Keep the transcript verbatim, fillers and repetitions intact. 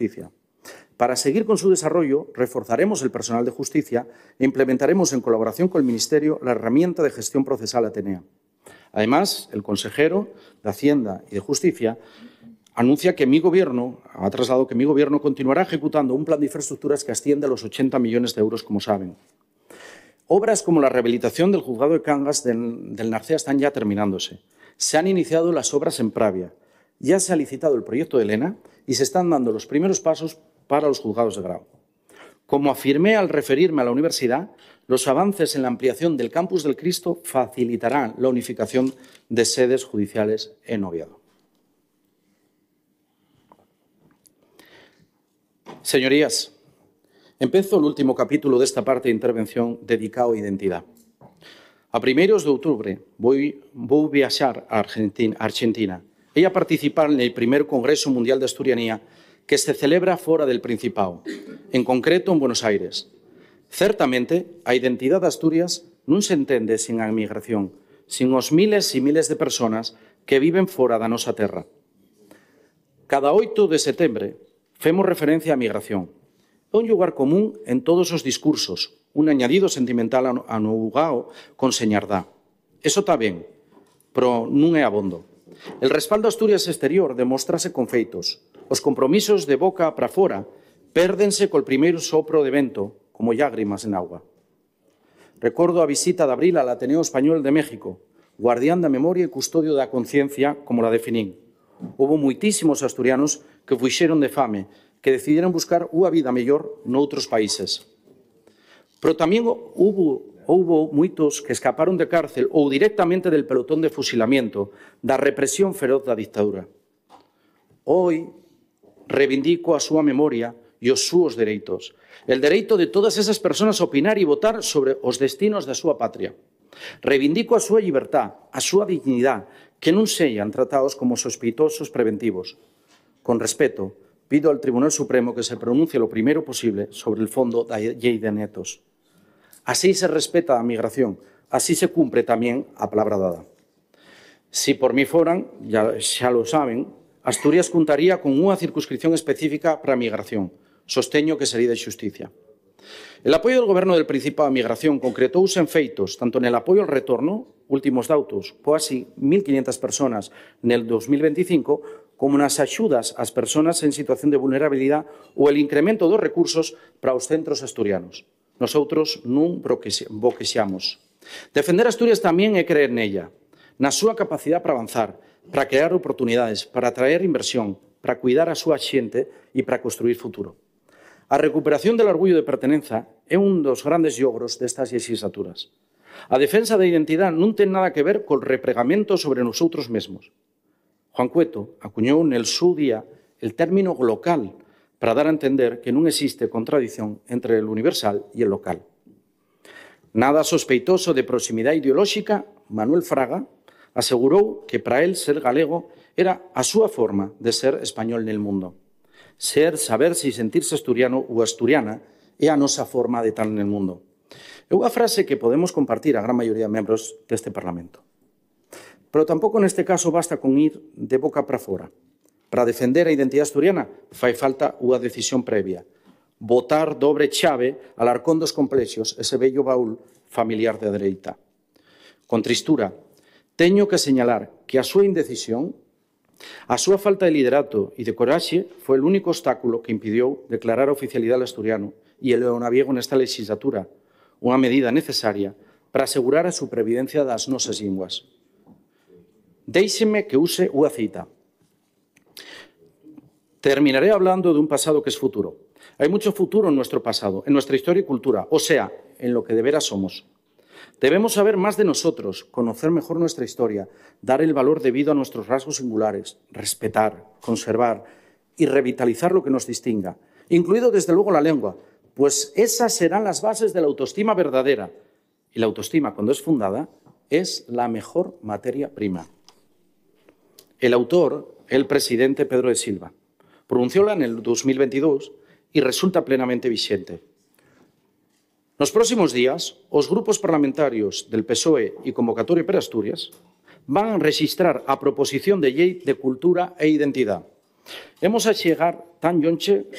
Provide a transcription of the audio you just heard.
Justicia. Para seguir con su desarrollo, reforzaremos el personal de justicia e implementaremos en colaboración con el Ministerio la herramienta de gestión procesal Atenea. Además, el consejero de Hacienda y de Justicia anuncia que mi Gobierno, ha trasladado que mi Gobierno continuará ejecutando un plan de infraestructuras que asciende a los ochenta millones de euros, como saben. Obras como la rehabilitación del juzgado de Cangas del, del Narcea están ya terminándose. Se han iniciado las obras en Pravia. Ya se ha licitado el proyecto de Elena y se están dando los primeros pasos para los juzgados de grado. Como afirmé al referirme a la universidad, los avances en la ampliación del Campus del Cristo facilitarán la unificación de sedes judiciales en Oviedo. Señorías, empezo el último capítulo de esta parte de intervención dedicado a identidad. A primeiros de outubro vou, vou viaxar a Argentina, Argentina e a participar en el primer Congreso Mundial de Asturianía que se celebra fora del Principado, en concreto en Buenos Aires. Certamente, a identidade de Asturias non se entende sin a emigración, sin os miles e miles de persoas que viven fora da nosa terra. Cada oito de setembro femos referencia á migración. É un lugar común en todos os discursos, un añadido sentimental anugao con señardá. Eso está ben, pero non é abondo. El respaldo a Asturias exterior demóstrase con feitos. Os compromisos de boca para fora pérdense col primeiro sopro de vento, como lágrimas en agua. Recordo a visita de abril al Ateneo Español de México, guardián da memoria e custodio da conciencia, como la definín. Houbo moitísimos asturianos que fuixeron de fame, que decidiron buscar unha vida mellor noutros países. Pero tamén houbo, houbo moitos que escaparon de cárcel ou directamente del pelotón de fusilamiento da represión feroz da dictadura. Hoy reivindico a súa memoria e os súos dereitos. El dereito de todas esas persoas a opinar e votar sobre os destinos da súa patria. Reivindico a súa libertad, a súa dignidade, que non sexan tratados como sospeitosos preventivos. Con respeto, pido al Tribunal Supremo que se pronuncie lo primeiro posible sobre el fondo da lei de netos. Así se respeta a migración, así se cumpre tamén a palabra dada. Si por mí foran, ya, xa lo saben, Asturias contaría con unha circunscripción específica para a migración. Sosteño que sería de xusticia. El apoio del Goberno del Principado a migración concretouse en feitos, tanto en el apoio al retorno, últimos datos, casi mil quinientas personas en el dos mil veinticinco, como nas axudas ás persoas en situación de vulnerabilidade ou el incremento dos recursos para os centros asturianos. Nosotros non boquexamos. Defender Asturias tamén é creer nella, na súa capacidade para avanzar, para crear oportunidades, para atraer inversión, para cuidar a súa xente e para construir futuro. A recuperación del orgullo de pertenenza é un dos grandes logros destas legislaturas. A defensa da identidade non ten nada que ver col repregamento sobre nosotros mesmos. Juan Cueto acuñou nel seu día el término local para dar a entender que non existe contradición entre el universal e el local. Nada sospeitoso de proximidade ideolóxica, Manuel Fraga asegurou que para él ser galego era a súa forma de ser español nel mundo. Ser, saber si sentirse asturiano ou asturiana é a nosa forma de estar nel mundo. É unha frase que podemos compartir a gran maioría de membros deste Parlamento. Pero tampouco neste caso basta con ir de boca para fora. Para defender a identidade asturiana fai falta unha decisión previa. Botar dobre chave al arcón dos complexos, ese bello baúl familiar de dereita. Con tristura, teño que señalar que a súa indecisión, a súa falta de liderato e de coraxe foi o único obstáculo que impidiu declarar a oficialidade asturiano e el leonaviego nesta legislatura, unha medida necesaria para asegurar a supervivencia das nosas linguas. Déixeme que use unha cita. Terminaré hablando de un pasado que es futuro. Hay mucho futuro en nuestro pasado, en nuestra historia y cultura, o sea, en lo que de veras somos. Debemos saber más de nosotros, conocer mejor nuestra historia, dar el valor debido a nuestros rasgos singulares, respetar, conservar y revitalizar lo que nos distinga, incluido desde luego la lengua, pues esas serán las bases de la autoestima verdadera. Y la autoestima, cuando es fundada, es la mejor materia prima. El autor, el presidente Pedro de Silva, pronuncióla en el dos mil veintidós y resulta plenamente vigente. Nos próximos días, os grupos parlamentarios del P S O E e Convocatoria per Asturias van a registrar a proposición de lei de cultura e identidade. Hemos a chegar tan lonxe